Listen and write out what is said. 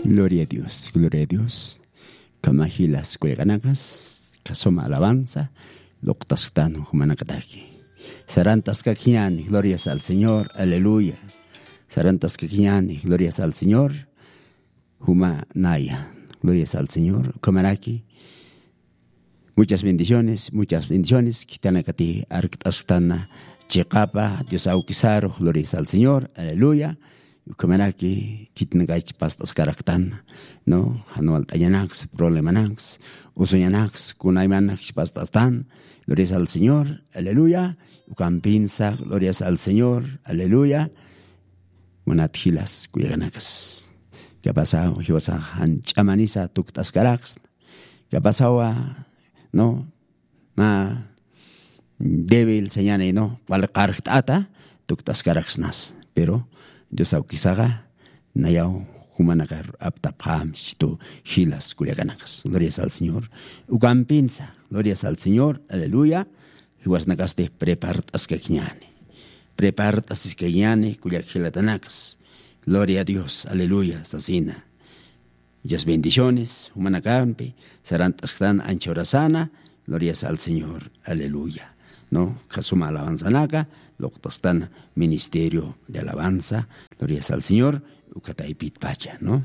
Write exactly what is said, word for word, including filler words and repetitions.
Gloria a Dios, gloria a Dios. Kamajilas kullakanakas, kasuma alabanza, loktasktan jumanakataki. Sarantaskakñani, glorias al Señor, aleluya. Sarantaskakñani, glorias al Señor, juma naya, glorias al Señor, kamaraki. Muchas bendiciones, muchas bendiciones. Kitanakati arkt'asktan chiqapa, Dios awkisaru, glorias al Señor, aleluya. Ukhamaraki kitnakach past'askaraktan, ¿no? Janualt'añanaks, problemanaks, usuñanaks, kunaymanakch past'astan, glorias al Señor, aleluya. Ukampinsa, glorias al Señor, aleluya. Munat jilas kullakanakas, kapasaw jiwasa janch'amanisa tukt'askaraks. Kapasawa, ¿no? Na débil señani, ¿no? Wal qarjt'ata tukt'askaraksnas. Pero Dios awkisaqa nayaw jumanakar aptapxam situ jilas kullakanakas. Glorias al Señor. Ukampinsa, glorias al Señor, aleluya. Jiwasnakasti prepart'askakñani. Prepart'asiskakñani kullak jilatanakas. Gloria a Dios, aleluya, sasina. Muchas bendiciones, jumanakampi, sarant'asktan ancha horasana, glorias al Señor, aleluya. ¿No? Kasuma alabanzanaka, loktastan ministerio de alabanza, glorias al Señor, ukataypit pacha, ¿no?